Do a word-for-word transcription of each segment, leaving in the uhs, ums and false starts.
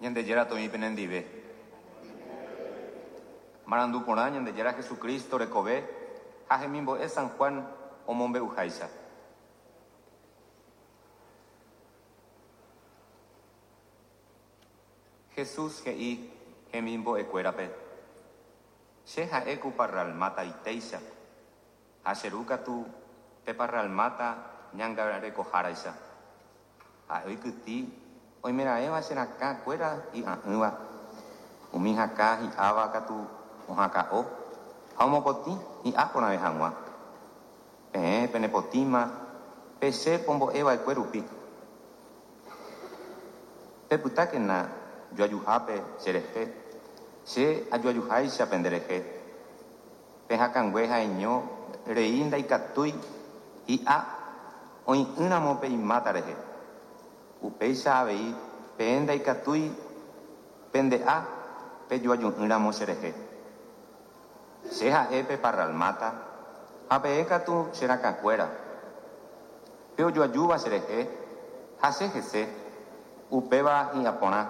Ñandejára toĩ penendive. Marandu porã Ñandejára Jesucristo rekove ha hemimbo'e San Juan omombe'uháicha. Jesús he'i hemimbo'ekuérape. Che ha'e ku parralmáta itéicha ha che ru katu pe parralmáta ñangarekoháraicha. Ha'e oikytĩ oimeraẽva che rakãkuéra hi'a'ỹva, umi hakã hi'áva katu ohakã'o ha omopotĩ hi'a porãve hag̃ua. Peẽ penepotĩma pe che pombo'eva'ekue rupi. Pepytákena joajuhápe cherehe, che ajoajuháicha penderehe. Pe hakãngue ha'eño rei ndaikatúi hi'a oĩ'ỹramo pe imáta rehe. Upéicha avei peẽ ndaikatúi pende'a pejoaju'ỹramo cherehe. Che ha'e pe parralmáta ha peẽ katu che rakãkuéra. Pe ojoajúva cherehe ha che hese, upéva hi'a porã.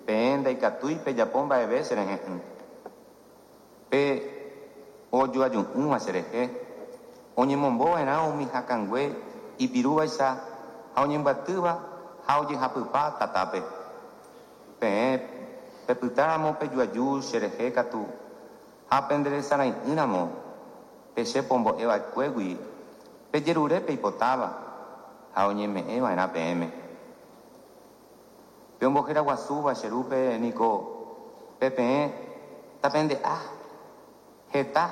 Peẽ ndaikatúi pejapo mba'eve cherehe'ỹ. Pe ojoaju'ỹva cherehe oñemombova'erã umi hakãngue ipirúvaicha ha oñembyatýva ha ojehapypa tatápe. Peẽ pepytáramo pejoaju cherehe katu ha penderesarai'ỹramo pe che pombo'eva'ekuégui pejerure peipotáva ha oñeme'ẽva'erã peẽme. Pe omboheraguasúva che rúpe niko pe peẽ tapende'a heta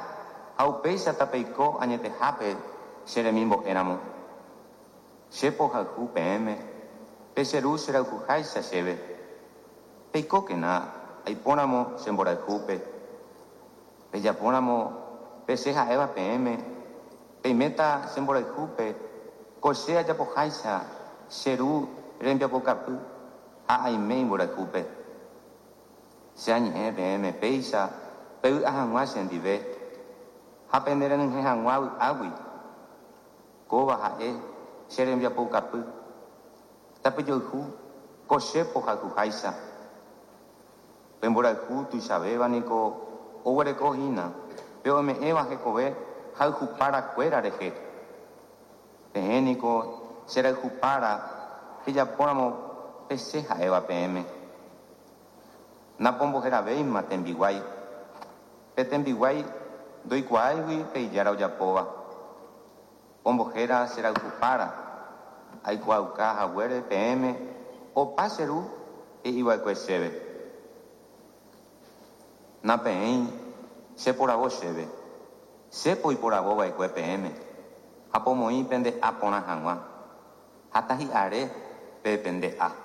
ha upéicha tapeiko añetehápe che remimbo'éramo. Che pohayhu peẽme pe che ru cherayhuháicha chéve. Peikókena aipóramo che mborayhúpe. Pejapóramo pe che ha'éva peẽme, peiméta che mborayhúpe ko che ajapoháicha che ru rembiapokapy ha aime imborayhúpe. Che añe'ẽ peẽme péicha pevy'a hag̃ua chendive ha penderenyhẽ hag̃ua vy'águi. Kóva ha'e che rembiapoukapy. Tapejoyhu ko che pohayhuháicha. Pe mborayhu tuichavéva niko oguerekohína pe ome'ẽva hekove hayhuparakuéra rehe. Peẽ niko cherayhupára pejapóramo pe che ha'éva peẽme. Napomboheravéima tembiguái. Pe tembiguái ndoikuaáigui pe ijára ojapóva. Ombohéra cherayhupára aikuaauka haguére peẽme opa che ru he'iva'ekue chéve. Napeẽi cheporavo chéve. Che poiporavova'ekue peẽme ha pomoĩ pende'a porã hag̃ua ha tahi'are pe pende'a.